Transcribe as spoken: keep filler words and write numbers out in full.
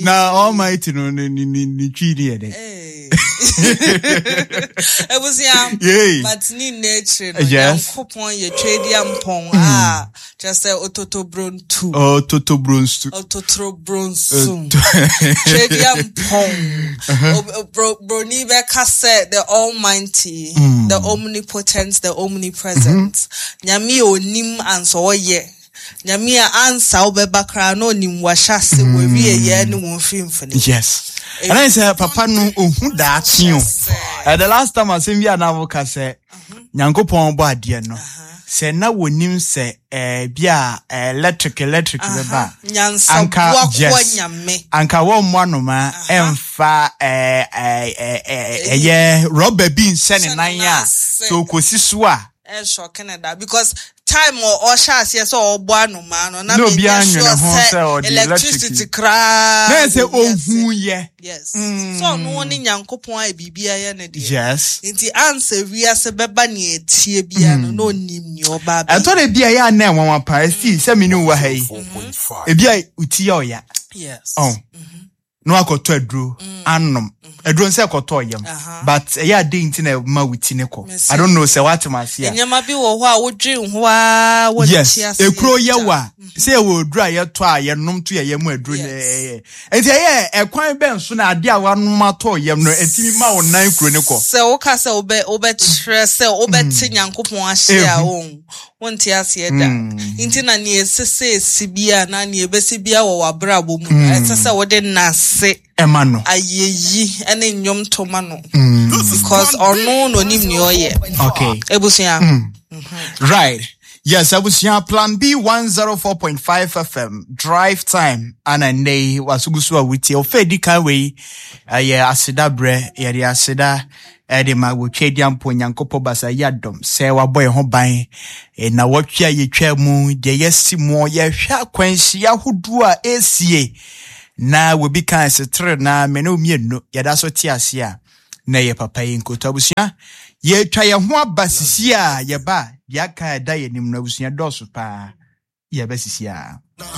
Na Almighty no ne ne ne ne twi ne yɛ dɛ. Hey. Ebusua. Yay. But ne nna akyire no, Yes. Nyankopɔn yɛ twedeɛ mpɔn a kyerɛ sɛ ototobrontu. Ototobronsu. Ototobronsu. Twedeɛ mpɔn. O- bro- Broni bɛka sɛ the Almighty, the Omnipotent, the Omnipresent. Nyame a onim ansa ɔyɛ. Nyame a ansa wobɛba koraa na onim wahyɛ ase wɔawie yɛ ne wɔn mfimfini. Yes. Ɛna sɛ papa no ohu daakye o. Eh, the last time asɛm bi a na woka sɛ Nyankopɔn bɔ adeɛ no, sɛ na wonim sɛ eh, bi a eh, electric electric bɛba a, Nyansaboa anka koa yes Nyame. anka wɔmmɔ anoma ɛmfa eh, eh, eh, eh, ɛyɛ rɔba bi nhyɛ ne Hyɛ ne nan nan a ase. sɛ okosi so a Ɛsɔ Canada because time ɔ- ɔhyɛ aseɛ sɛ ɔbɔ anomaa no na Na obiara menyɛ nwene sure ho sɛ sɛ ɔde electricity electric. koraa Na ɛsɛ wɔ wiase. ohu yɛ. Yes, sɛ ɔno ne Nyankopɔn a biribiara yɛ ne deɛ. Yes nti ansa wiase bɛba nea ɛtie biara no, na onim nea ɔba abɛyɛ. Ɛtɔ de bi a ɛyɛ a na ɛnwanwa paa esi sɛ me ne wo wɔ ha yi, ebi a oti yɛ ɔya. Yes ɔn na wakɔtɔ aduro anom, aduro nsɛ kɔtɔ yam. Aha. But ɛyɛ ade nti na ɛma wo ti ne kɔ. Mese- I don't know sɛ wate m ase a. Nneɛma bi wɔ hɔ a wodwen ho a wɔnte Yes aseɛ ekuro yɛ da. wa sɛ yɛwɔ aduro a yɛtɔ a yɛnom to yɛ yam aduro no. Yes. Ɛyɛ nti ɛyɛ ɛkwan bɛn so na ade a wanom atɔ yam no ɛtumi ma wo nan kuro ne kɔ? Sɛ woka sɛ wobɛ wobɛkyerɛ sɛ wobɛte Nyankopɔn ahyɛ a, wɔn wonte aseɛ da. Nti na nea ɛsɛ sɛ esi bia na nea ɛbɛsi bia wɔ w'abrabɔ mu no, ɛsɛ sɛ wode nase ɛma no ayɛyi ne nnwom to ma no because ɔno na onim nea ɔyɛ. Okay ebusua. Right. Yes, abusua, Plan B one oh four point five F M Drive Time ana nnɛ yi wasogu so a wotie ɔfɛ di kan wei ɛyɛ aseda berɛ. Yɛde aseda ɛde ma wɔtwa adi ampo Nyankopɔn basa yi adɔm sɛ wabɔ yɛn ho ban. E, na wɔtwe a yɛtwa mu deɛ yɛsi mu, yɛhwɛ akwanhyia ahodoɔ a ɛsie na wɔbi kan setere na me ne wo mmienu yɛda so te ase a na yɛ papa yi nkoto. Abusua, yɛtwa yɛn ho aba sisi a yɛba a deɛ aka a ɛda yɛn anim no, abusua, dɔɔso paa. Yɛbɛ sisi a.